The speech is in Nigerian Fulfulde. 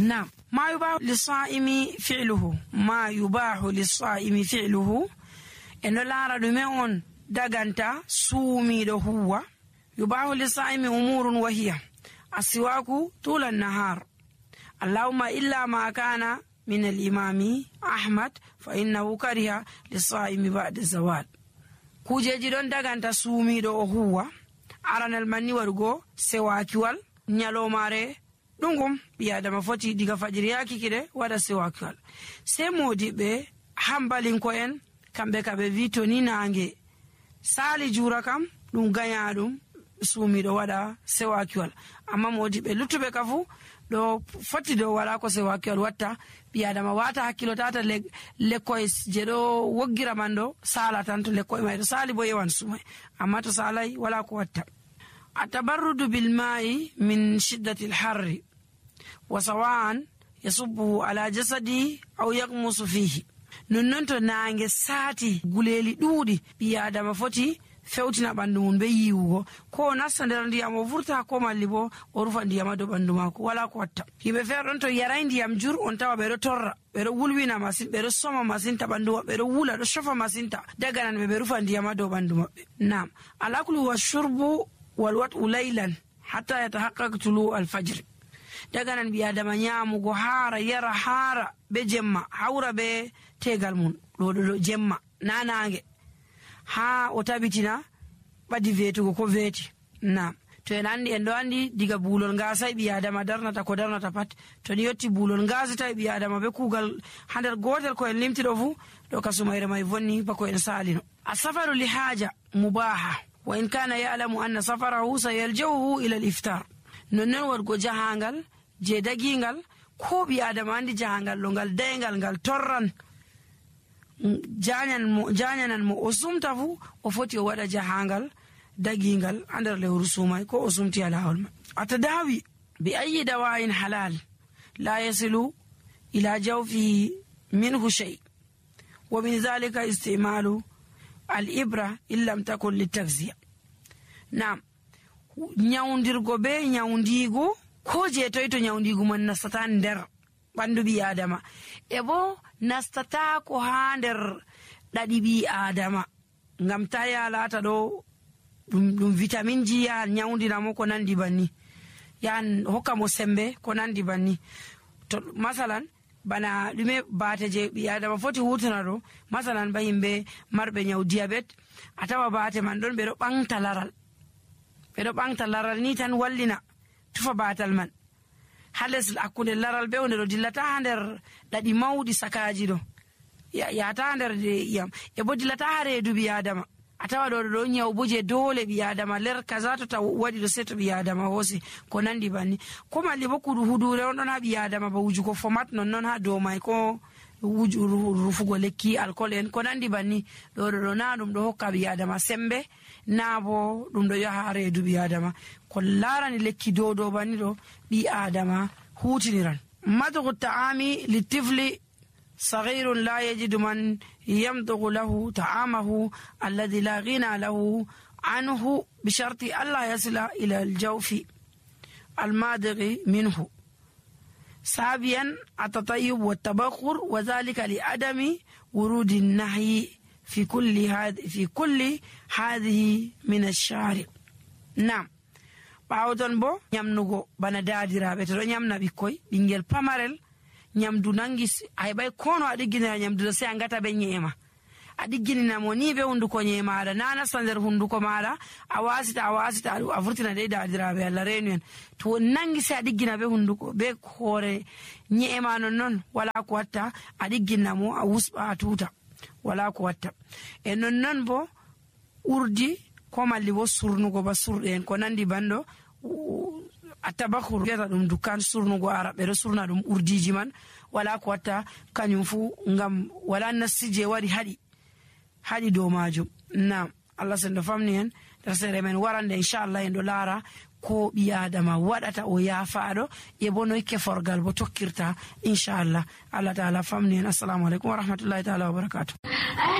نعم ما يباح للصائم فعله ما يباح للصائم فعله إنه لا ردمون دغانتا سومي دو هو يباح للصائم أمور وهي السواك طول النهار اللهم إلا ما كان من الإمام أحمد فإنه كره للصائم بعد الزوال kujeji don daganta suumido o huwa aranal manni warugo sewakiwal nyalomare dungum biadama foti diga fajiri yaki kide wada sewakiwal se modibe hambalin ko en kambe kabe vito ni nange sali jura kam dum ganyadum suumido wada sewakiwal amma modibe lutube kafu do foti do wala ko sewakiwal watta biadama wata hakkilo tata lekkoy jedo woggira mando sala tanto lekkoy may do sali bo yewan sumay amma to salay wala ko watta atabarrudu bil ma'i min shiddati al harr wa sawan yasubbu ala jasadi aw yaqmusu fihi non to nange sati guleli dudi biadama foti fewtina bandu mun be yiwugo ko nasta nder ndiyam o vurta ko malli bo o rufa ndiyam do bandu mako wala ko watta hibe ferron to yaray ndiyam jur on tawa be do torra be do wulwina masin be do soma masin ta bandu be do wula do shofa masin ta daga nan be rufa ndiyam do bandu mabbe nam alakulu washurbu walwatu laylan hatta yatahaqqaq tulu alfajr daga nan biya da manyamugo hara yara hara be jemma hawra be tegal mun do jemma nanange ha o tabitina badi vetugo ko veti na to en andi en do andi diga bulol ngasa bi adama darnata ko darnata pat to ni yotti bulol ngasa tay bi adama be kugal hander gotel ko en limti do fu do kasumayre may vonni bako en salino asafaru li haja mubaha wa in kana ya'lamu anna safarahu sayaljahu ila al-iftar non wargo jahangal je dagingal ko bi adama andi jahangal lo ngal dengal ngal torran janyanan mo osumta fu o foti o wada jahangal dagingal andar le rusumay ko osumti ala hawma atadawi bi ayi dawain halal la yasilu ila jawfi minhu shay wa min zalika istimalu al-ibra illam takun litakziya nam nyawndirgo be nyawndigo ko je toyto nyawndigo man nasatan der bandu bi adama ebo nastata ko hander dadi bi adama ngam taya lata do dum vitamin ji ya nyawndina mo ko nandi banni yan hokka mo sembe ko nandi banni to masalan bana dume bate je bi adama foti hutana do masalan ba himbe marbe nyaw diabete atawa bate man don be do bangta laral ni tan wallina tufa batal man hales akunde laral be wonde do dillata hander dadi mawdi sakaji do ya ta hander yam e bo dillata hare du bi adama atawa do nyaw buje dole bi adama ler kaza to ta wadi do seto bi adama hosi ko nandi banni ko malli bokudu hudure on don ha bi adama ba wuju ko format non ha do mai ko wuju rufugo lekki alcool en ko nandi banni do na dum do hokka bi adama sembe nabo dum do yahare du bi adama ko larani lekki do banni do bi adama hutiniran madhu ta'ami litifli صغير لا يجد من يمضغ له طعامه الذي لا غنى له عنه بشرط ألا يصل إلى الجوف الماضغ منه سابيا التطيب والتبخر وذلك لعدم ورود النهي في كل هذه من الشارع نعم باودon bo nyamnugo bana daadirabe to nyamna bikkoy bingel pamarel nyamdu nangis ay bay kono adigina nyamdu se angata be nyema adigina mo ni be hunduko nyema ada nana sander hunduko mala awasita avurtina de daadirabe alla renuen to nangis adigina be hunduko be hore nyema non wala ko watta adigina mo awusba tuta wala ko watta e non bo urdi ko malli bo surnugo ba surden ko nandi bando atabakhur geta dum dukan surnugo arabe do surna dum urdiji man wala ko watta kanyum fu ngam wala nasije wari hadi do majum na Allah sendo famni en tasere men warande inshallah en do lara ko bi adama wadata o yafaado e bono ke forgal bo tokkirta inshallah Allah taala famni en assalamu alaikum wa rahmatullahi taala wa barakatuh